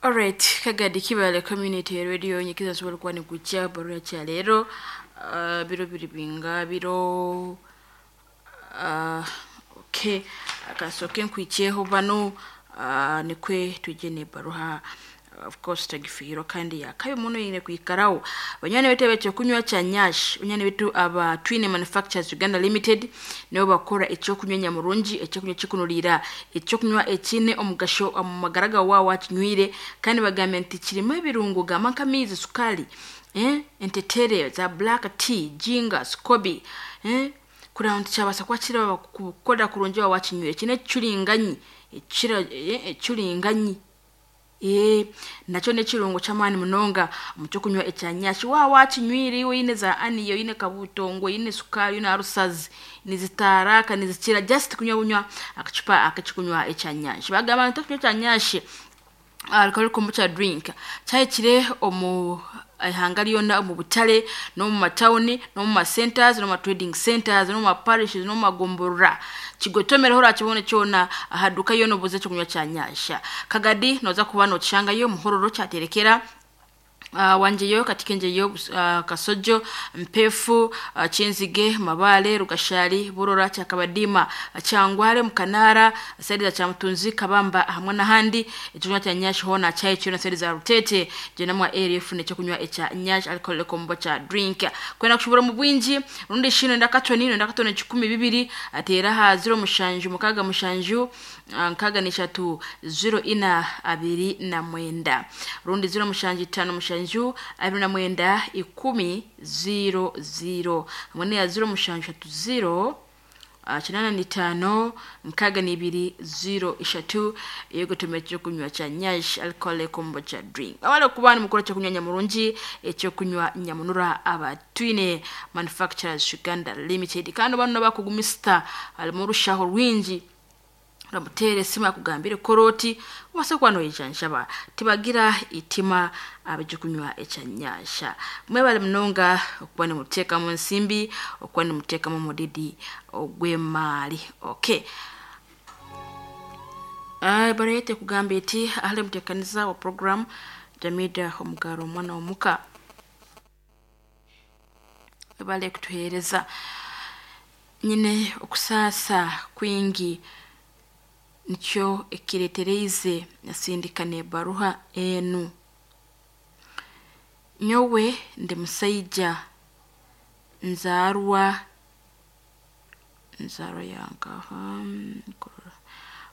Alright, Kagadi Kibale Community Radio nyikiza sobola kuba nikujja barua kya leero biro biri binga biro okay, akasooke nkwikyeho bano nikwe tujye nebaruha. Of course tagifiirwa kandi yakabi muno yine kwikarawo. Banywani betu ab'ekyokunywa kya Nyash, banywani betu aba Twine Manufacturers Uganda Limited nibo bakora ekyokunywa nyamurungi, ekyokunywa kikunuriira, ekyokunywa ekiine omugasho omu magara gawe waaba wakinywire. Kandi bagambye nti kirimu ebirungo gamba nk'amaizi, sukaali, entetere za black tea, ginger, scoby, kureba nti kyabaasa kuba kiraba kukorera kurungi waaba wakinywire. Kiine ekicuringanyi ekira ekicuringanyi nakyo n'ekirungo ky'amaani munonga omu kyokunywa ekya Nyash. Waaba wakinywire iwe oine za aniya, oine kabutongo, oine sukaari, oine arusazi, nizitaaraaka nizikira just kunywa bunywa akacupa ak'ekyokunywa ekya Nyash. Bagamba nti ekyokunywa kya Nyash alcoholic kombucha drink kyahikire omu ihanga ryona, omu butare n'omu matawuni n'omu ma centers n'omu ma trading centers n'omu ma parishes n'omu magomborora. Kigotomereho orakibone kyona aha duka yoona obuuze ekyokunywa kya Nyash. Kagadi nooza kuba nookishangayo, Muhororo kyaterekera, Wangeyo, Katikenjeyo, Kasojo, Mpefu, Kyenzige, Mabale, Rugashari, Burora, Kyakabadiima, Kyangware, Mukanaara, side za Kyamutunzi, Kabamba hamwe n'ahandi. Ekyokunywa kya Nyash hoona kyahikire na side za Rutete gyena mwa area efuna ekyokunywa ekya Nyash alcoholic kombucha drink. Kwenda kushubura omu bwingi rundi shi noyenda katoni, noyenda katoni 20 ateera aha 0767 63 04 29 rundi 0757 29 10 00 hamwe n'eya 0730 85 62 03 eyokutumia ekyokunywa kya Nyash alcoholic kombucha drink. Awale kuba nimukora ekyokunywa nyamurungi, ekyokunywa nyamunura, aba Twine Manufacturers Uganda Limited. Kandi bano bakugumisita harimu orushaho rwingi, oramuteera esimu akugambire koroti obase kuba noyijanjaba. Tibagira itima ab'ekyokunywa ekya Nyash. Mwebale munonga okuba nimuteekamu ensimbi, okuba nimuteekamu omudidi ogw'emaari. Okay, bareete kugamba eti ahari muteekaniza wa program Jamida Omugaro omwana w'omuka, bale kutuheereza. Nyine okusaasa kwingi nikyo ekireetereize nasindika n'ebaruha enu. Nyowe ndi musaija nzaarwa nzaarwa yankaha?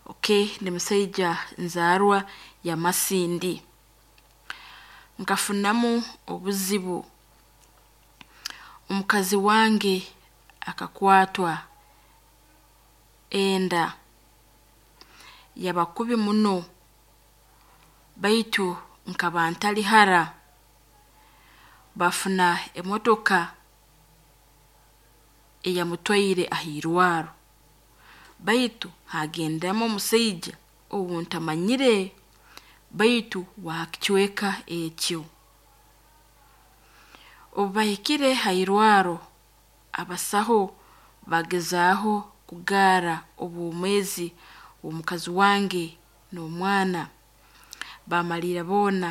Okay, ndi musaija nzaarwa ya Masindi. Nkafunamu obuzibu, omukazi wange akakwatwa enda yaba kubi muno, baitu nkaba ntari hara. Bafuna emotoka eyamutwaire aha irwaro, baitu hagendamu omusaija ou ntamanyire baitu w'aha kicweka ekyo. Obu bahikire ha irwaro, abasaho bagezaaho kugaara obwomeezi bw'omukazi wange n'omwana, bamaliira boona.